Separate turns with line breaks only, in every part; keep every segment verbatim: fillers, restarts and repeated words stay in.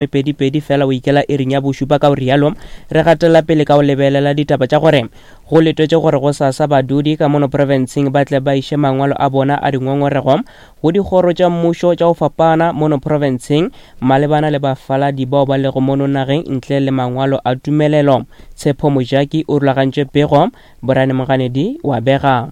Pedi-pedi fela o ikela iring ya bošupa. Ka o rialo re gatela pele ka o lebelela ditaba tša gore go letetše gore go sasa badudi ka mono profenseng ba tle ba iše mangwalo a bona a dingongorego go dikgoro tša mmušo tša go fapana mono profenseng malebana le bafaladi bao ba lego mono nageng ntle le mangwalo a tumelelo. Tshepo Mojaki o rulagantše pego, Borane Moganedi wa bega.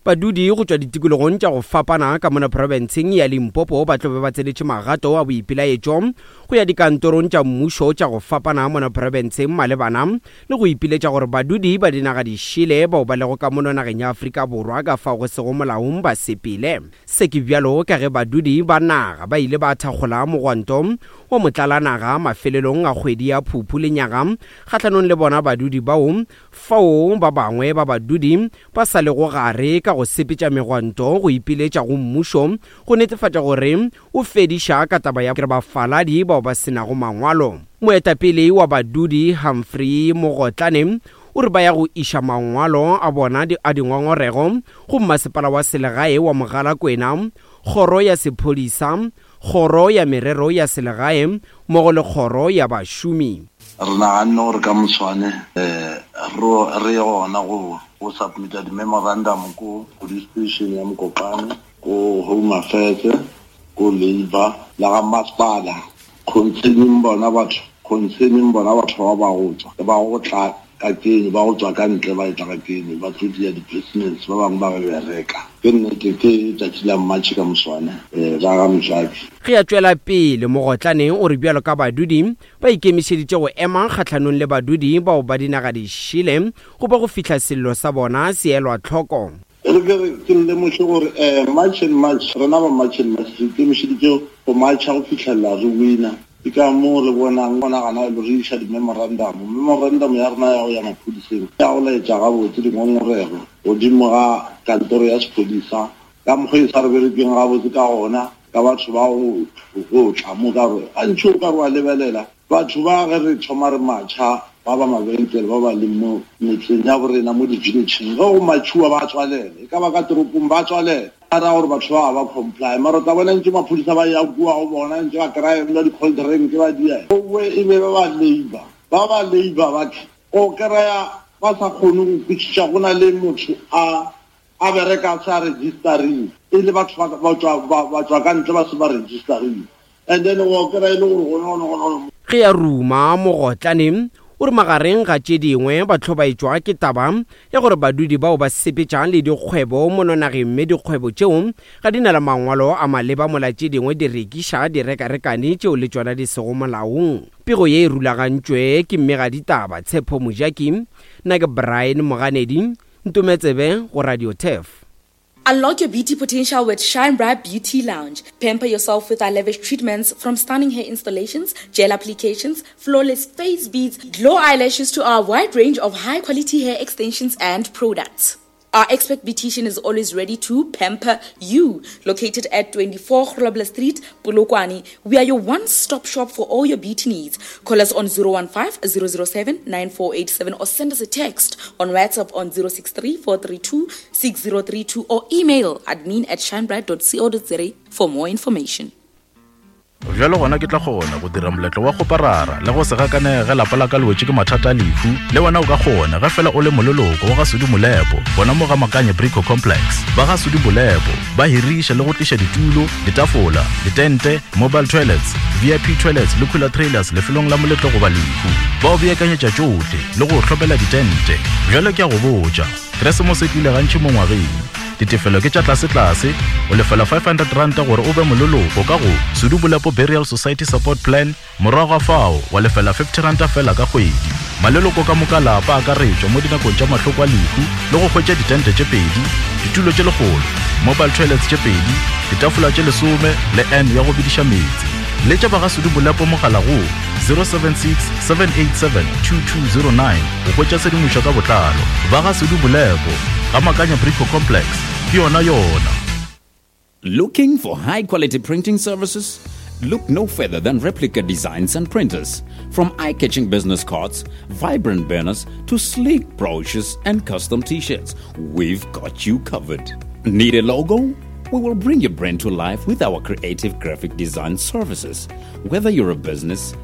Badudi go tšwa ditikologong tša go fapana ka mona profenseng ya Limpopo ba tlo be ba tsenetše magato a boipelaetšo go ya dikantorong tša mmušo tša go fapana mona profenseng malebana le go ipiletša gore badudi ba dinaga dišele bao ba lego ka mono nageng ya Afrika Borwa ka fao go sego molaong ba sepele. Se ke bjalo ka ge badudi ba naga ba ile ba thakgola mogwanto wa motlalanaga mafelelong a kgwedi ya Phuphu lenyaga kgahlanong le bona badudi bao fao ba bangwe ba badudi ba sa lego gare ka go sepetša megwanto go ipiletša go mmušo go netefatša gore o fediša ka taba ya bafaladi bao ba senago mangwalo. Moetapele wa badudi Humphrey Mogotlane o re ba ya go iša mangwalo a bona a dingongorego go mmasepala wa selegae wa Mogalakwena, kgoro ya sephodisa, kgoro ya merero ya selegae mmogo le kgoro ya bašomi.
Re naganne gore ka moswane um re ye gona go go submita di-memorandum ko police station ya Mokopane, ko Home Affairs, ko Labour la ga masepala concerning bona batho concerning bona batho ba ba go tswa ba go tla ka keno ba go tswa ka ntle ba etla ka keno ba tlo dia di-business ba bangwe ba ba bereka. Ke nnete ke tšatši la March ka moswane um ba ga Mojaki.
Ge a tšwela pele Mogotlane o re bjalo ka badudi ba ikemišeditše go ema kgahlanong le badudi bao ba dinaga dišele go ba go fihla sello sa bona se elwa tlhoko.
Re ke re ke lemoše gore um March and March rena ba March and March re ikemišeditše go marcha go fitlhelela re wina. Ke ka moo re bonang gona gana re iša di-memorandum. Memorandum ya rena ya go ya maphodiseng ya go laetša gabotse dingongorego godimo ga kantoro ya sephodisa ka mokgwa e sa re berekeng gabotse ka gona ka batho ba go go tla mo ka gore gantši o ka re wa lebelela batho ba ge re thoma re matšha ba ba mabenkele ba ba leng mo metseng ya borena mo di-villageng ge go matšhiwa ba tswalela e ka ba ka toropong ba tswalela a ra gore batho ba ba comply mara o tla bona ntse maphodisa ba ya kua go bona ntse ba kry-a di-cold drink ba dia owe e be ba ba labour ba ba labour batho o kry-a ba sa kgone go kwešiša go na le motho a a bereka a sa registerile e le batho ba tswa ka ntle ba se ba registerile and then o kry-a e le gore gone gone gone.
Ge a ruma Mogotlane o re magareng ga tše dingwe ba hlobaetšwa ke taba ya gore badudi bao ba sepetšang le dikgwebo mono nageng mme dikgwebo tšeo ga di na le mangwalo a maleba mola tše dingwe di rekiša direkarekane tšeo le tšona di sego molaong. Pego ye e rulagantšwe ke mmegaditaba Tshepo Mojaki, nna ke Brian Moganedi, Ntometsebe go Radio Turf.
Unlock your beauty potential with Shine Bright Beauty Lounge. Pamper yourself with our lavish treatments from stunning hair installations, gel applications, flawless face beads, glow eyelashes to our wide range of high quality hair extensions and products. Our expert beautician is always ready to pamper you. Located at twenty-four Grobler Street, Polokwane, we are your one-stop shop for all your beauty needs. Call us on zero one five, zero zero seven, nine four eight seven or send us a text on WhatsApp on zero six three, four three two, six zero three two or email admin at shinebright dot co dot za for more information.
Bjalo gona ke tla kgona go dira moletlo wa go parara le go se gakane ge lapa la ka le wetše ke mathata a lehu. Le wena o ka kgona ge fela o le moleloko wa ga Sudi Molepo gona mo ga Makanye Brico Complex. Ba ga Sudi Molepo ba hiriša le go tliša ditulo, ditafola, ditente, mobile toilets, V I P toilets le cooler trailers lefelong la moletlo goba lehu. Ba o beakanyetša tšohle le go hlopela ditente. Bjalo ke a go botša, Keresemose e tlile gantši mo ngwageng. Ditefelo ke tša tlase-tlase, o lefela five hundred ranta gore o be moleloko ka go Sudi Molepo Burial Society Support Plan, morago ga fao wa lefela fifty ranta fela ka kgwedi. Maleloko ka moka lapa a akaretšwa mo dinakong tša mahloko a lehu le go hwetša ditente tše pedi, ditulo tše lekgolo, mobile toilets tše pedi, ditafola tše lesome le N ya go bediša meetse. Letša ba ga Sudi Molepo mogala go zero seven six, seven eight seven, two two zero nine go hwetša tshedimošo ka botlalo. Ba ga Sudi Molepo ga Makanya Brico Complex ke yona yona.
Looking for high quality printing services? Look no further than Replica Designs and Printers. From eye-catching business cards, vibrant banners, to sleek brochures and custom t-shirts, we've got you covered. Need a logo? We will bring your brand to life with our creative graphic design services. Whether you're a business,